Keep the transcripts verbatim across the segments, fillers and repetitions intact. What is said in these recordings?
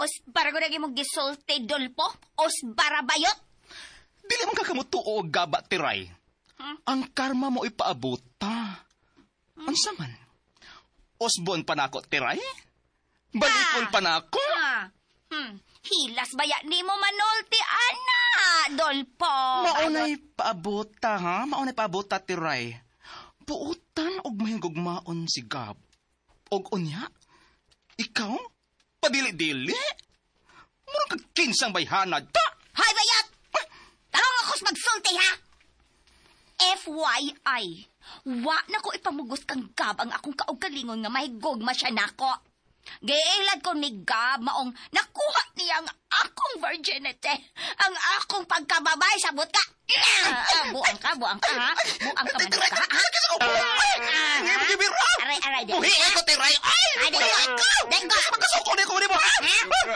Os para ko lagi mong gisulti, Dolpo. Os barabayot. Dili man ka kamutuo og gaba, Tiray. Ang karma mo ipaabota. Unsa man? Osbon pa nako, Tiray? Balikon pa nako? Ah. Hmm. Hilas baya ni mo manulti, ana, Dolpo. Maunay paabota, ha? Maunay paabota, Tiray. Buotan og mahigugmaon si Gab. Og unya? Ikaw? Padili-dili? Murag kag kinsang bayhana, ta! Hay, bayot! Tarong ako sa magsulti, ha? F Y I, wa na ko ipamugos kang Gab ang akong kaugalingon nga mahigugma siya nako. Giilad ko ni Gab maong nakuha niya ang akong virginity, ang akong pagkababay, sabot ka. Ah, buang ka, buang ka, ha? Buang ka man ka, ha? Aray, aray, di. Buhi ko, Tiray! Ay! Ay, di ko. Di ko. Magkasuko ni ko ni mo, ha?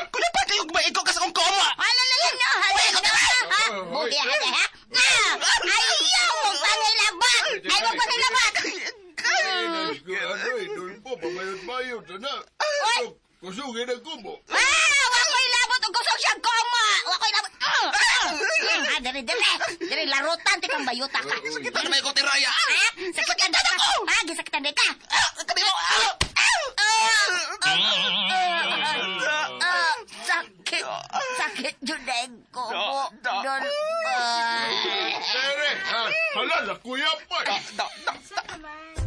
Kulipan kayo ba ikaw ka sa akong koma? Ala, la, la, no, hala, no, ha? Buhi, hala, ha? Ah, ayaw mong pangilabot! Ayaw mong pangilabot! Ano eh, Dolpo, pamayot-mayot na. Uy! Kusugin ang kumo. Ah, wa ko'y labot og kusog siyang koma! Wa ko'y labot! Ah, ah, dere, dere! Dere, larutan, tikang bayuta ka. Sakitan na ko, Tiray, ha? Ha? Sakitan ka! Ha? Gisakitan din ka! Ah, kanimo! Ah! Ah, ah, sakit! Sakit yun na yung kumo. Dolpo. Tere, ha? Hala, lakuya pa. Da, da, da.